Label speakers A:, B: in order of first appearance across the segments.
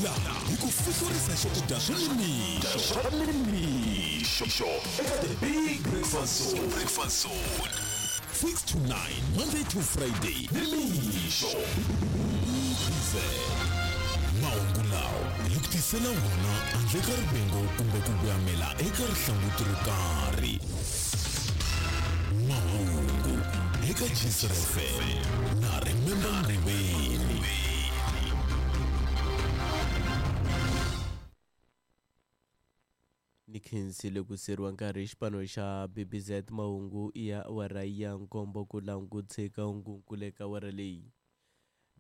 A: Laha hi ku fihlurisa swakudya swa nimixo swa nimixo eka The Big Breakfast Zone. Breakfast Zone. 6 to 9, Monday to Friday, nimixo. BZ. Mahungu lawa hi ku tisela wona handle ka rivengo kumbe ku voyamela eka rihlanguti ro karhi. Mahungu eka Gcr FM na Remember Nguveni.
B: Ni khensile ku seriwa nkarhi xipano xa BBZ mahungu ya awara ya nkombo ku langutshika hungunkule ka awara leyi.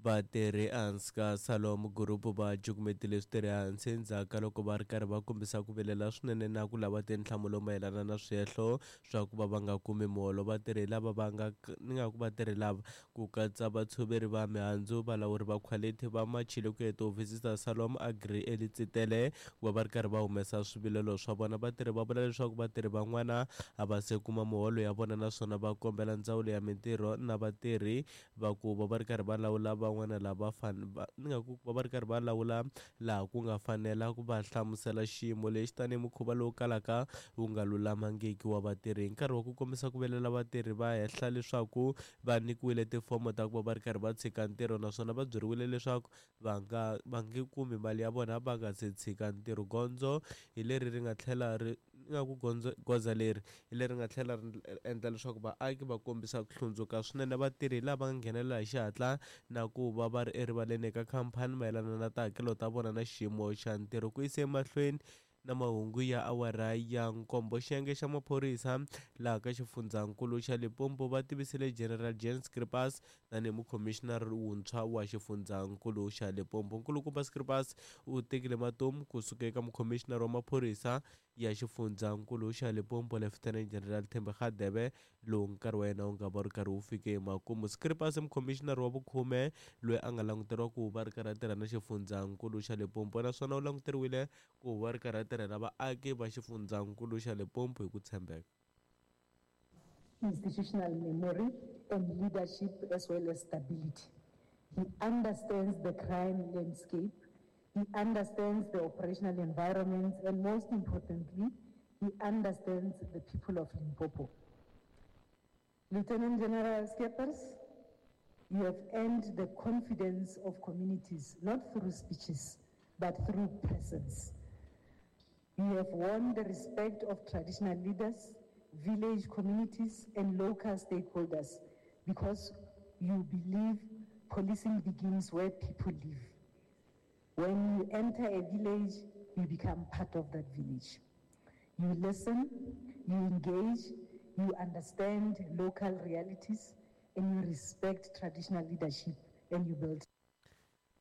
B: Vatirhi ehansi ka Salom Group va cukumetile switirhi ehansi endzhaku ka loko va ri karhi va kombisa ku vilela swinene na ku lava tinhlamulo mayelana na swihehlo swa ku va va nga kumi muholo. Vatirhi lava va nga ni nga ku vatirhi lava ku katsa vatshoveri va mihandzu, valawuri va khwalithi va machile ku ya etihofisi ta Salom Agri eLitsitele ku va va ri karhi va humesa swivilelo swa vona. Vatirhi va vula leswaku vatirhi van'wana a va se kuma muholo ya vona naswona va kombela ndzawulo ya mintirho na vatirhi va ku va va ri karhi va lawula van'wana lava va ni nga ku va va ri karhi va lawula laha ku nga fanela ku va hlamusela xiyimo lexi tanihi mukhuva lowu kalaka wu nga lulamangiki wa vatirhi. Hi nkarhi wa ku kombisa ku vilela vatirhi va hehla leswaku va nyikiwile tifomo ta ku va va ri karhi va tshika ntirho naswona va byeriwile leswaku va nga va nge kumi mali ya vona va nga se tshika ntirho. Gondzo hi leri ri nga tlhela ri ni nga ku gondzo goza leri hi leri nga tlhela ri endla leswaku vaaki va kombisa ku hlundzuka swinene. Vatirhi lava nga nghenelela hi xihatla na ku va va ri erivaleni eka khampani mayelana na tihakelo ta vona na xiyimo xa ntirho. Ku yisa emahlweni na mahungu ya awara ya nkombo, xiyenge xa maphorisa laha ka xifundzankulu xa Limpopo va tivisile General Jan Scripas tanihi mukhomixinari wuntshwa wa xifundzankulu xa Limpopo. Nkulukumba Scripas u tekile matomu kusuka eka mukhomixinari wa maphorisa ya xifundzankulu xa Limpopo Lieutenant General Thembi Radebe lowu nkarhi wa yena wu nga va wu ri karhi wu fike emakumu. Scripas i mukhomixinari wa vukhume loyi a nga languteriwa ku va ri karhi a tirha na xifundzankulu xa Limpopo naswona u languteriwile ku va ri karhi a tirhela vaaki va xifundzankulu xa Limpopo hi ku tshembeka.
C: Institutional memory and leadership as well as stability. He understands the crime landscape, he understands the operational environment, and most importantly, he understands the people of Limpopo. Lieutenant General Skeppers, you have earned the confidence of communities, not through speeches, but through presence. You have won the respect of traditional leaders, village communities, and local stakeholders because you believe policing begins where people live. When you enter a village, you become part of that village. You listen, you engage, you understand local realities, and you respect traditional leadership, and you build.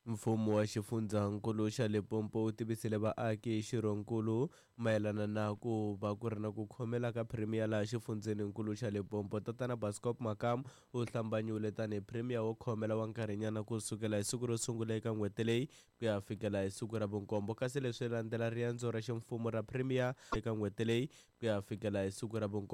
B: Mfumo wa xifundzankulu xa Limpopo wu tivisile vaaki hi xirhonkulu mayelana na ku va ku ri na ku khomela ka Premier laha xifundzheninkulu xa Limpopo. Tatana Bascop Makamu u hlambanyiwile tanihi Premier wo khomela wa nkarhinyana ku sukela hi siku ro sungula eka n'hweti leyi ku ya fikela hi siku ra vunkombo, kasi leswi landzela riendzo ra ximfumo ra Premier eka n'hweti leyi ku ya fikela hi siku ra vunkombo.